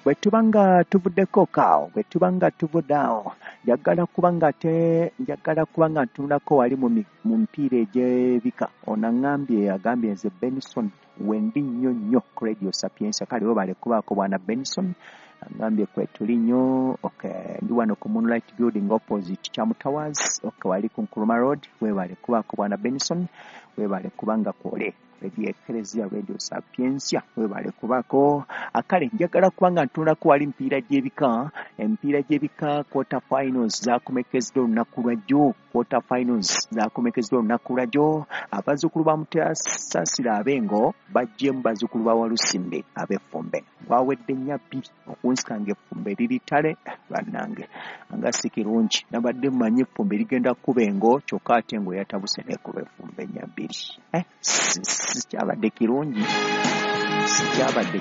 Bwe tuba nga tuvuddeko kaawo, bwe tuba nga tuvudde awo, njagala kuba nga te njagala kuba nga ntunulako wali mu mipiira egy'ebika. Ono aŋŋambye, agambye nze Benson wendi nnyo nnyo ku Radio Sapientia. Kale webale kubaako bwana Benson, agambye kwetuli nnyo. Okay, ndi wano ku Moonlight Building opposite Chamu Towers, okay, wali ku Nkrumah Road. Webale kubaako bwana Benson, webale kubanga kwole Radio Eklezia, Radio Sapientia, webale kubaako. Akale njagala kubanga ntunulako wali emipiira gy'ebika. Emipiira gy'ebika quarter finals zakomekezeddwa olunaku lwajjo, quarter finals zakomekezeddwa olunaku lwajjo. Abazzukulu ba Mutesaasira ab'Engo baggyemu bazzukulu ba Walusimbi ab'Effumbe, gwawedde 4-2. Okunsika ng'effumbe liri ttale bannange, nga si kirungi. Nabadde mmanyi effumbe ligenda kkuba Engo, kyokka ate Engo yatabuse n'ekuba effumbe 4-2. Sikyabadde kirungi, sikyabadde.